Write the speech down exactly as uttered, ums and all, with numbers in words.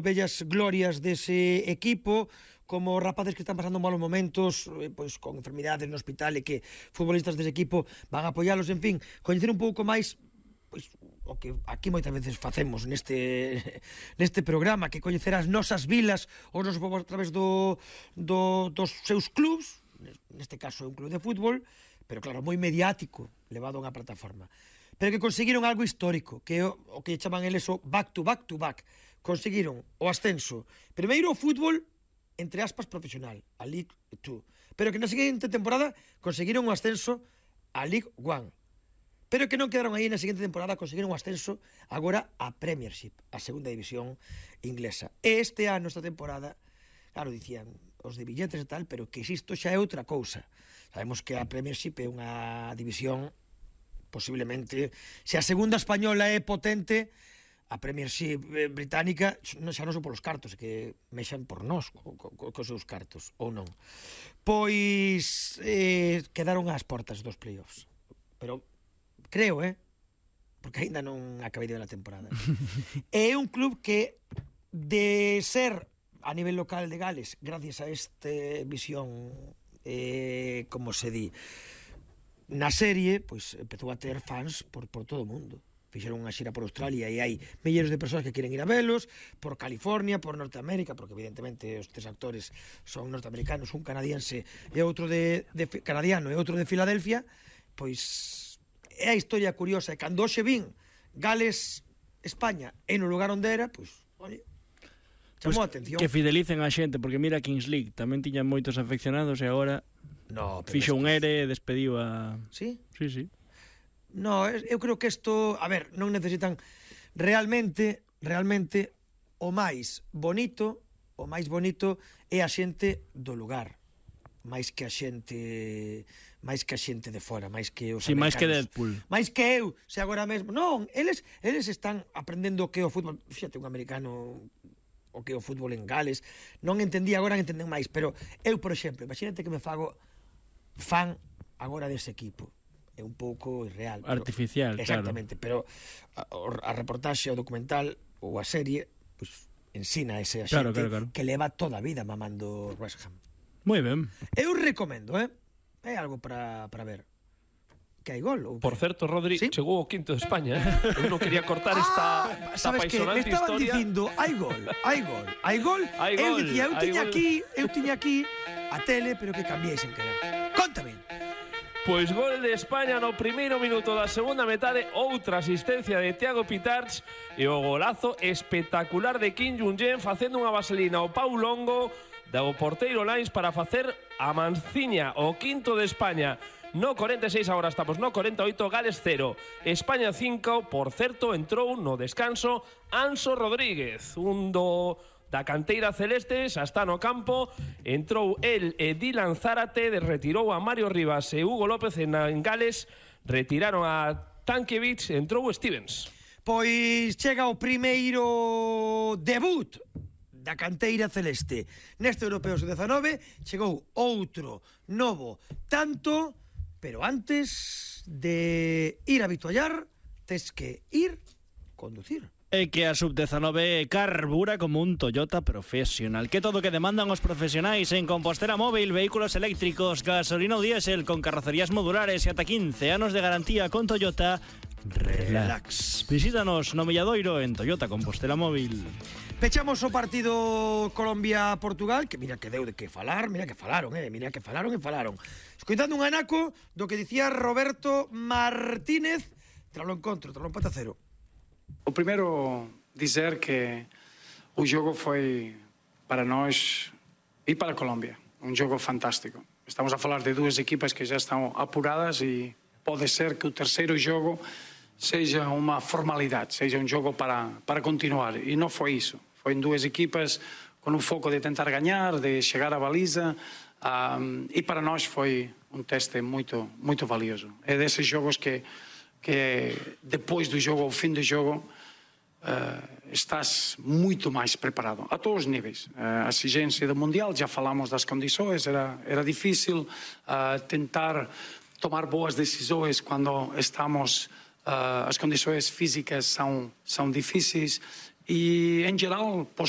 bellas glorias dese equipo, como rapaces que están pasando malos momentos, eh, pois con enfermidades no hospital e que futbolistas dese equipo van a apoialos, en fin, coñecer un pouco máis pois o que aquí moitas veces facemos neste neste programa, que coñecer as nosas vilas, os nosos povos a través do, do, dos seus clubs, neste caso é un club de fútbol, pero claro, moi mediático, levado a unha plataforma, pero que conseguiron algo histórico, que é o, o que chaman eles o back to back to back. Conseguiron o ascenso primeiro o fútbol, entre aspas, profesional, a League dos, pero que na seguinte temporada conseguiron o ascenso a League one, pero que non quedaron aí na seguinte temporada, conseguiron o ascenso agora a Premiership, a segunda división inglesa. E este ano, esta temporada, claro, dicían os de billetes e tal, pero que isto xa é outra cousa. Sabemos que a Premiership é unha división posiblemente, se a segunda española é potente, a Premiership británica xa non son polos cartos, que mexan por nós co, co, co seus cartos, ou non. Pois eh, quedaron ás portas dos playoffs, pero creo, eh, porque aínda non acabei de ver a temporada. É un club que de ser a nivel local de Gales, gracias a este visión, eh, como se di, na serie, pois empezou a ter fans por, por todo o mundo. Fixeron unha xira por Australia e hai milleiros de persoas que queren ir a velos, por California, por Norteamérica, porque evidentemente os tres actores son norteamericanos, un canadiense e outro de, de canadiano e outro de Filadelfia. Pois é a historia curiosa, e cando hoxe vin Gales, España, e no lugar onde era, pois, olha, chamou a atención. Que fidelicen a xente, porque mira Kings League, tamén tiñan moitos afeccionados e agora no, fixo un ere e despediu a... Sí? Sí, sí. No, eu creo que isto, a ver, non necesitan realmente, realmente o máis bonito, o máis bonito é a xente do lugar, máis que a xente, máis que a xente de fora, máis que os sí, americanos. máis que Deadpool. Máis que eu, se agora mesmo, non, eles eles están aprendendo o que é o fútbol. Fíxate, un americano o que é o fútbol en Gales, non entendía, agora entenden máis, pero eu, por exemplo, imagínate que me fago fan agora dese equipo. É un pouco irreal, pero, artificial, exactamente, claro. Pero a, a reportaxe, o documental ou a serie, pues, ensina a ese a claro, xente claro, claro. que leva toda a vida mamando West Ham. Moi ben. Eu recomendo, eh? É algo para, para ver. Que hai gol? Ou Por certo, Rodri, ¿sí? Chegou o quinto de España, eh? Eu non quería cortar esta, ah, esta apaixonante historia. Me estaban dicindo, hai gol, hai gol, hai gol. Hai eu gol, dicía, eu tiña gol. aquí, eu tiña aquí a tele, pero que cambiei sen querer. Contame. Pois gol de España no primeiro minuto da segunda metade, outra asistencia de Thiago Pitarch e o golazo espectacular de Kim Jung-jen facendo unha vaselina ao Pau Longo do porteiro Lines para facer a manciña, o quinto de España. No cuarenta e seis, agora estamos no cuarenta e oito, Gales cero, España cinco. Por certo, entrou no descanso Anso Rodríguez, un do... da canteira celeste, xa está no campo, entrou el e Dylan Zárate, retirou a Mario Rivas e Hugo López en, en Gales, retiraron a Tankiewicz, entrou Stevens. Pois chega o primeiro debut da canteira celeste. Neste Europeo sub dezanove chegou outro novo tanto, pero antes de ir a habituallar, tes que ir conducir. É que a sub dezanove carbura como un Toyota profesional. Que todo que demandan os profesionais en Compostela Móvil, vehículos eléctricos, gasolina ou diésel, con carrocerías modulares e ata quince anos de garantía con Toyota Relax. Visítanos no Milladoiro en Toyota Compostela Móvil. Pechamos o partido Colombia-Portugal, que mira que deu de que falar, mira que falaron, eh, mira que falaron e falaron. Escoitando un anaco do que dicía Roberto Martínez tras o encontro, tras o empate a cero. O primeiro, dizer que o jogo foi para nós e para a Colômbia un jogo fantástico. Estamos a falar de dúas equipas que já estão apuradas e pode ser que o terceiro jogo seja uma formalidade, seja um jogo para, para continuar. E não foi isso. Foi em duas equipas com o foco de tentar ganhar, de chegar à baliza, um, e para nós foi um teste muito, muito valioso. É desses jogos que que depois do jogo, ao fim do jogo, uh, estás muito mais preparado, a todos os níveis. Uh, a exigência do Mundial, já falamos das condições, era, era difícil uh, tentar tomar boas decisões quando estamos, uh, as condições físicas são, são difíceis E, em geral, posso